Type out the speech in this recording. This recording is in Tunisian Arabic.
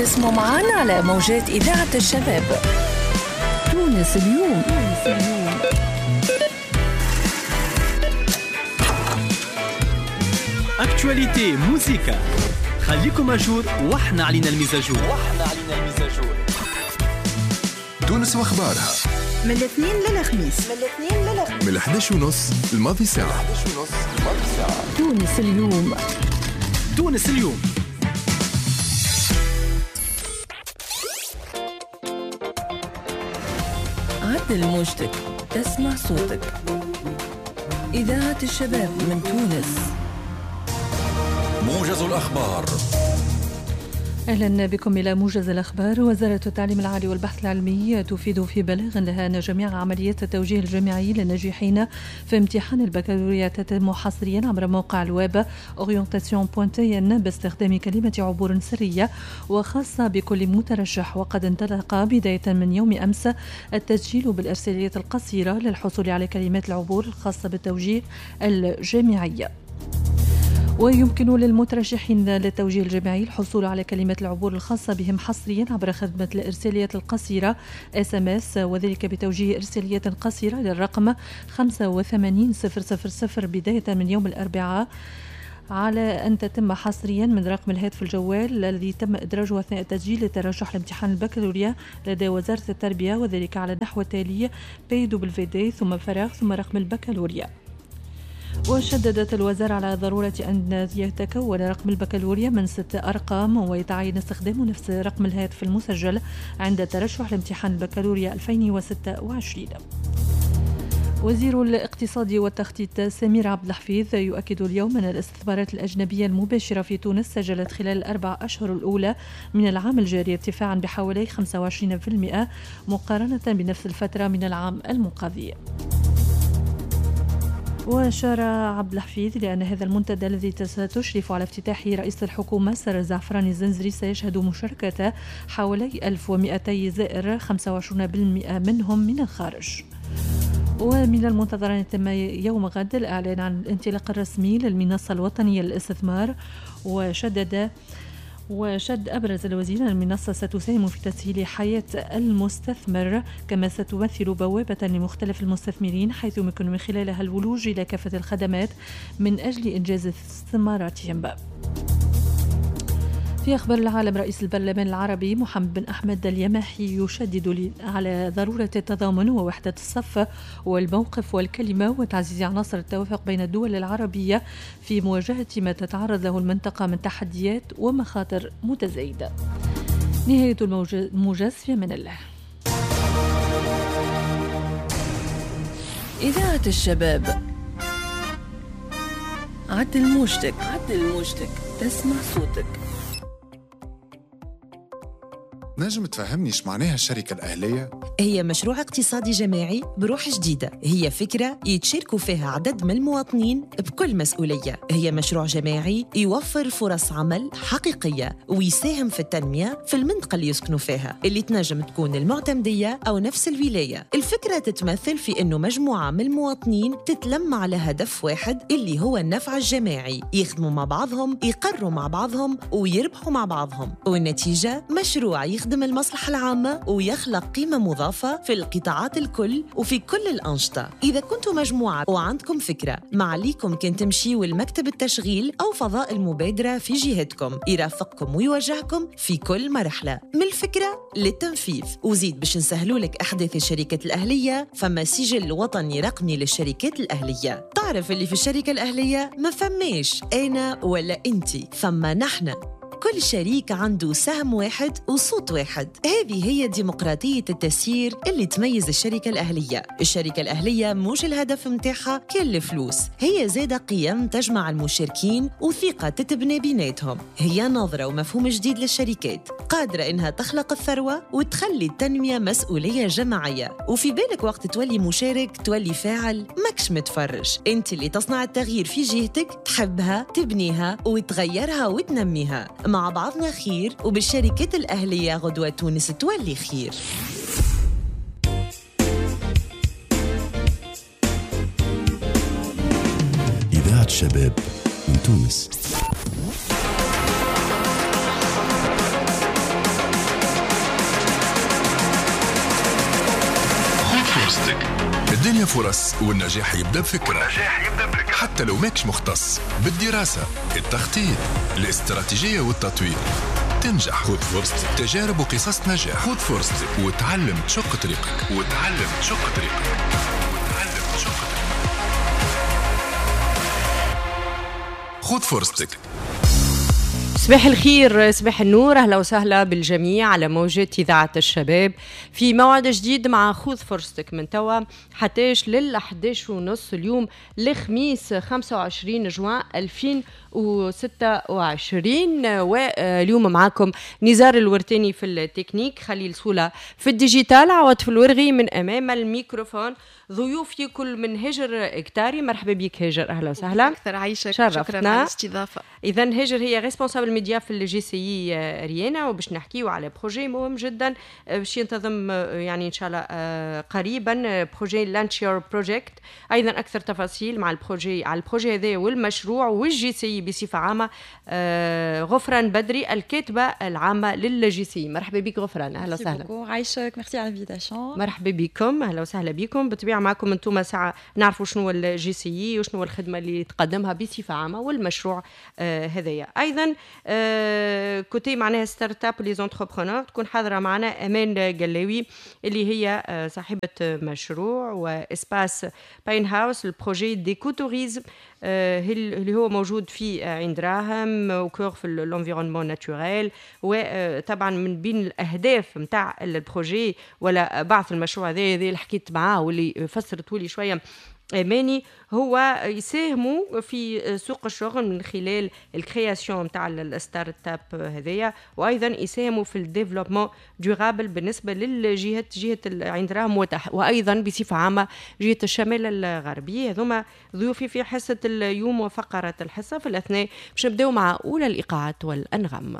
اسمعوا معنا على موجات إذاعة الشباب. تونس اليوم. تونس اليوم. actualité موزيكا، خليكم à jour واحنا علينا ال mise à jour. تونس واخبارها من الاثنين للخميس، من 11:30 الماضي ساعة. تونس اليوم. تونس اليوم. عدل موجتك تسمع صوتك. إذاعة الشباب من تونس. موجز الأخبار. أهلا بكم إلى موجز الأخبار. وزارة التعليم العالي والبحث العلمي تفيد في بلاغ لها أن جميع عمليات التوجيه الجامعي للناجحين في امتحان البكالوريا تتم حصريا عبر موقع الويب orientation.tn باستخدام كلمة عبور سرية وخاصة بكل مترشح. وقد انطلق بداية من يوم أمس التسجيل بالإرساليات القصيرة للحصول على كلمات العبور الخاصة بالتوجيه الجامعي. ويمكن للمترشحين للتوجيه الجامعي الحصول على كلمات العبور الخاصة بهم حصريا عبر خدمة الإرساليات القصيرة SMS، وذلك بتوجيه إرساليات قصيرة للرقم 85000 بداية من يوم الأربعاء، على أن تتم حصريا من رقم الهاتف الجوال الذي تم إدراجه أثناء التسجيل للترشح لامتحان البكالوريا لدى وزارة التربية، وذلك على النحو التالي PWD ثم فراغ ثم رقم البكالوريا. وشددت الوزارة على ضرورة أن يتكون رقم البكالوريا من 6 أرقام، ويتعين استخدام نفس رقم الهاتف المسجل عند الترشح لامتحان البكالوريا 2026. وزير الاقتصاد والتخطيط سمير عبد الحفيظ يؤكد اليوم أن الاستثمارات الأجنبية المباشرة في تونس سجلت خلال الأربع أشهر الأولى من العام الجاري ارتفاعا بحوالي 25% مقارنة بنفس الفترة من العام الماضي. وأشار عبد الحفيظ لأن هذا المنتدى الذي ستشرف على افتتاحه رئيس الحكومة سارة الزعفراني الزنزري سيشهد مشاركة حوالي 1200 زائر، 25% منهم من الخارج. ومن المنتظر أن يتم يوم غد الإعلان عن الانطلاق الرسمي للمنصة الوطنية للاستثمار. وشد أبرز الوزير أن المنصة ستساهم في تسهيل حياة المستثمر، كما ستمثل بوابة لمختلف المستثمرين حيث يمكن من خلالها الولوج إلى كافة الخدمات من أجل إنجاز استثماراتهم. في أخبار العالم، رئيس البرلمان العربي محمد بن أحمد اليماحي يشدد على ضرورة التضامن ووحدة الصف والموقف والكلمة وتعزيز عناصر التوافق بين الدول العربية في مواجهة ما تتعرض له المنطقة من تحديات ومخاطر متزايدة. نهاية الموجز، في أمان الله. إذاعة الشباب. عدل موجتك، عدل موجتك تسمع صوتك. نجم تفهمني ايش معناها الشركة الأهلية؟ هي مشروع اقتصادي جماعي بروح جديدة، هي فكرة يتشاركوا فيها عدد من المواطنين بكل مسؤولية، هي مشروع جماعي يوفر فرص عمل حقيقية ويساهم في التنمية في المنطقة اللي يسكنوا فيها، اللي تنجم تكون المعتمدية أو نفس الولاية. الفكرة تتمثل في أنه مجموعة من المواطنين تتلم على هدف واحد اللي هو النفع الجماعي، يخدموا مع بعضهم، يقروا مع بعضهم، ويربحوا مع بعضهم، والنتيجة مشروع يخدم المصلحة العامة ويخلق قيمة مضافة في القطاعات الكل وفي كل الأنشطة. إذا كنتم مجموعة وعندكم فكرة، ما عليكم كان تمشيوا لمكتب التشغيل أو فضاء المبادرة في جهتكم، يرافقكم ويوجهكم في كل مرحلة من الفكرة للتنفيذ. وزيد باش نسهلوا لك أحداث الشركات الأهلية، فما سجل وطني رقمي للشركات الأهلية. تعرف اللي في الشركة الأهلية ما فماش أنا ولا أنتي، فما نحن. كل شريك عنده سهم واحد وصوت واحد. هذه هي ديمقراطية التسيير اللي تميز الشركة الأهلية. الشركة الأهلية مش الهدف متاعها كل الفلوس، هي زادة قيم تجمع المشاركين وثقة تتبنى بيناتهم. هي نظرة ومفهوم جديد للشركات، قادرة إنها تخلق الثروة وتخلي التنمية مسؤولية جماعية. وفي بالك وقت تولي مشارك تولي فاعل، ماكش متفرج، انت اللي تصنع التغيير في جهتك، تحبها، تبنيها وتغيرها وتنميها. مع بعضنا خير، وبالشركات الأهلية غدوة تونس تولي خير. إذاعة الشباب من تونس. الدنيا فرص والنجاح يبدأ بفكرة، حتى لو ماكش مختص بالدراسة، التخطيط، الاستراتيجية والتطوير تنجح. خذ فرصتك، تجارب وقصص نجاح. خذ فرصتك وتعلم تشق طريقك، وتعلم تشق طريقك، وتعلم تشق طريقك. خذ فرصتك. صباح الخير، صباح النور، أهلا وسهلا بالجميع على موجة إذاعة الشباب في موعد جديد مع خذ فرصتك من توا حتىش لل 11:30 اليوم الخميس 25 جوان 2026. واليوم معاكم نزار الورتاني في التكنيك، خليل سولة في ال digital، عوض في الورغي من أمام الميكروفون. ضيوفي كل من هاجر اكتاري، مرحبا بك هاجر، اهلا وسهلا. اكثر عايشك، شكرا على الاستضافة. اذا هاجر هي responsable média في ال JCI اريانا، وباش نحكيو على projet مهم جدا باش ينتظم يعني ان شاء الله قريبا، projet Launch Your Project. ايضا اكثر تفاصيل مع ال projet، على ال projet هذا والمشروع وال JCI بصفة عامة. غفران بدري الكاتبة العامة لل JCI، مرحبا بك غفران، اهلا وسهلا. عايشك، ميرسي على l'invitation. مرحبا بكم، اهلا وسهلا بكم. بالطبيعة معكم انتم ساعة نعرفوا شنو ال JCI وشنو الخدمة اللي تقدمها بصفة عامة والمشروع هذايا. ايضا côté معناها startup les entrepreneurs تكون حاضره معنا امان قلاوي اللي هي صاحبه مشروع و espace باين هاوس، ال projet d'écotourisme اللي هو موجود في عين دراهم au cœur في l'environnement naturel. وطبعا من بين الاهداف نتاع ال projet ولا بعث المشروع هذا اللي حكيت معاه واللي فسرته لي شوية اماني، هو يساهموا في سوق الشغل من خلال ال création نتاع ال startup هذيا، وايضا يساهموا في ال développement durable بالنسبة للجهة، جهة عين دراهم وايضا بصفة عامة جهة الشمال الغربي. هذوما ضيوفي في حصة اليوم وفقره الحصة. في الاثناء باش نبداو مع اولى الايقاعات والانغام.